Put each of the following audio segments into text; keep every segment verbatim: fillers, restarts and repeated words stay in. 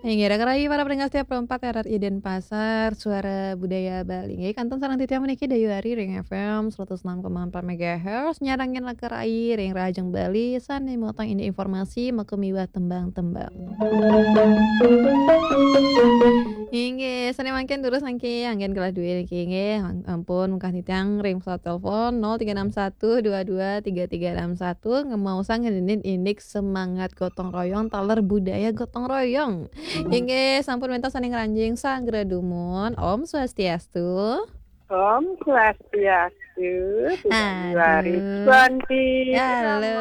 Inggih, raka rayi para pendengar setia Pro empat R R I Denpasar, Suara Budaya Bali. Inggih, kantun sareng titiang puniki Dayu Ari ring F M seratus enam koma empat megahertz, nyarengin raka rayi ring Rahajeng Bali, sane mutang indik informasi maka miwah tembang-tembang. Inggih, sane mangkin durus nangkin anggen kelah duwe niki inggih, ampun mungkah titiang ring pesawat telepon nol tiga enam satu dua dua tiga tiga enam satu, ngemaosang ngeninin indik semangat gotong royong, taler budaya gotong royong. Inggih, sampun wenten sane ngranjing sagra dumun. Om Swastiastu. Om Swastiastu. Aduh. Hari Suwanti. Halo.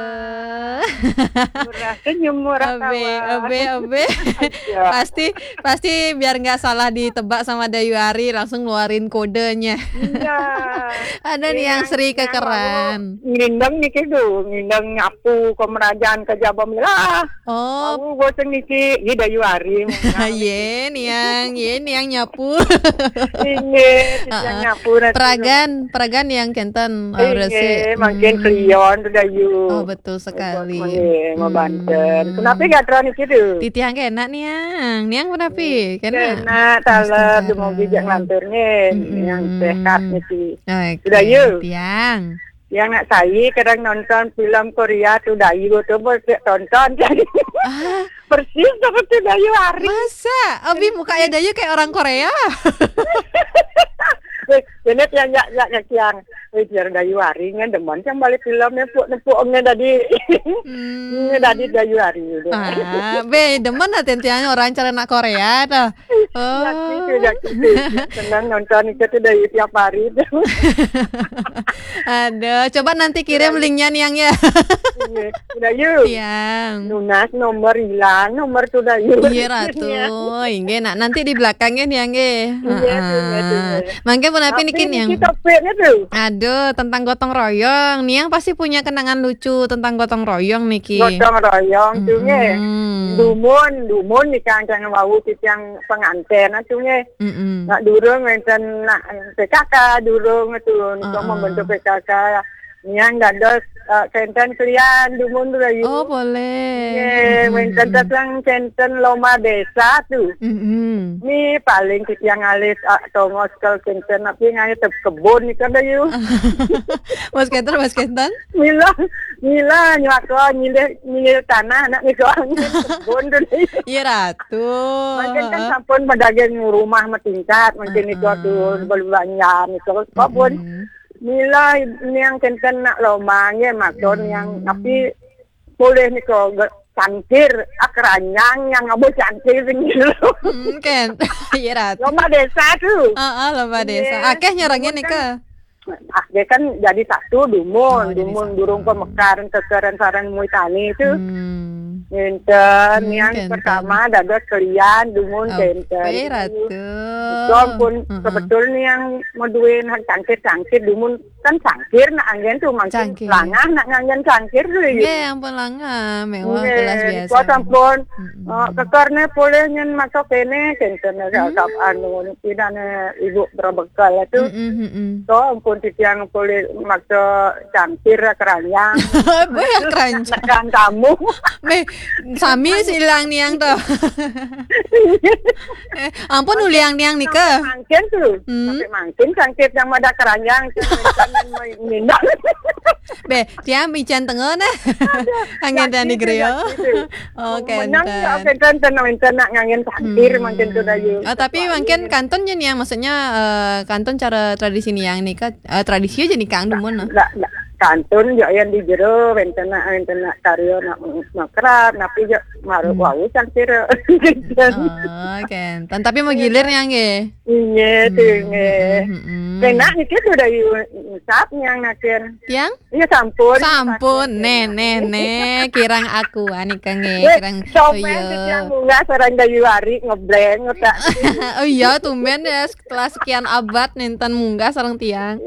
Murah senyum, murah tawa. Obe, obe. Pasti, pasti biar nggak salah ditebak sama Dayu Ari, langsung ngeluarin kodenya. Iya. Ada nih yang seri kekeran. Ngindeng niki tuh, ngindeng nyapu ke merajaan ke jaba milah. Oh. Aku goseng niki, ini Dayu Ari. Ye, niang, ye, niang nyapu. Inggih, yang nyapu. Peragan, peragan yang kenten, resik. Inggih, mangkin klion tuh Dayu. Oh, betul sekali. Nggih, mau banten. Kenapa gatra niki tuh? Titiang kenak niang. Niang kenapa? Kenak. Kenak, taler, dumugi jak ngantur nggih. Yang sehat niki. Dayu. Tiang. Yang nak saya kadang nonton film Korea tuh Dayu tuh, bos, tonton. Ah. Persis seperti Dayu Ari. Masa? Abi muka ya Dayu kayak orang Korea. Weh, bener ya, ya, ya, ya, Kiang. Weh, biar Dayu Ari kan demen yang balik film nempuk-nempuk omnya tadi. Ini tadi Dayu Ari udah. Ah, be, demen lah tentiannya orang cara nak Korea tuh. Oh. Ya gitu, ya gitu. Senang nonton itu tuh dari tiap hari tuh. Aduh, coba nanti kirim linknya niang ya. Iya, udah yuk. Tiang. Nunas nomor hilang, nomor tuh udah yuk. Iya, Ratu. Inggih, nak nanti di belakangnya niang nggih. Iya, tuh, iya, tuh, iya. Mangke pun apa niki niang? Kita tuh. Aduh, tentang gotong royong. Niang pasti punya kenangan lucu tentang gotong royong niki. Gotong royong tuh nggih. Dumun, dumun nih kan wau titiang penganten tuh nggih. Nak durung wenten nak P K K, durung tuh untuk membentuk P K K. Niang dados, eh, kenten kelian dumun tuh Dayu. Oh, boleh. Nggih, wenten teteng kenten lomba desa tuh. Ini paling titiang alis, ah, tongos kal kenten, tapi nganggit kebun nih kan Dayu. Mas kenten, Mas kenten? Mila, mila, nyuaka nyilih, nyilih tanah, anak nih kebun tuh Dayu. Iya, Ratu. Mungkin kan sampun pedagang rumah matingkat, mungkin itu tuh belanja nih kebun. Mila niang kenten nak lomba nggih, maksud niang, tapi boleh nih kok cangkir, ah, keranjang yang ngabo cangkir sing gitu. Mungkin. Iya, Ratu. Lomba desa tuh. Heeh, lomba desa. Akeh nyerengin nih ke. Akeh kan jadi satu dumun, dumun durung pemekaran kekeran sarang muitani itu. Ngenten, yang pertama dados kelian dumun kenten. Ratu. Itu ampun, kebetulan yang mau duwe cangkir-cangkir dumun kan cangkir nak anggen tuh mangkin langah nak nganggen cangkir tuh ya. Nggih, ampun langah, mewah kelas biasa. Kuat ampun. Eh, kekarne poleh nyen maca kene kenten anu pidane ibu berbekal itu. To ampun titiang poleh maca cangkir keranjang. Boya keranjang. Nekan kamu. Meh, sami silang niang to. Eh, ampun uliang niang nika. Mangkin tuh. Sampai mangkin cangkir yang mada keranjang minum. Be, tiang ican tengah nah. Angin dan di gerio. Oh, kenten. Kenten tenang nak ngangin cangkir mangkin tuh Dayu. Oh, tapi mangkin kantun je niang, maksudnya, eh, kantun cara tradisi niang nika, eh, tradisi aja nih Kang dumun nah. Kantun yo yang di jero wenten nak, wenten nak karyo nak makrab, tapi yo maru wau cangkir. Oh, kenten. Tapi mau gilir niang nggih. Iya tuh nggih. Kena niki tuh Dayu sap niang nakin. Tiang? Iya sampun. Sampun, neh, neh, neh, kirang aku anika nggih, kirang. Komen tiang munggah sareng Dayu Ari ngebleng utak. Oh iya, tumben ya setelah sekian abad nenten munggah sareng tiang.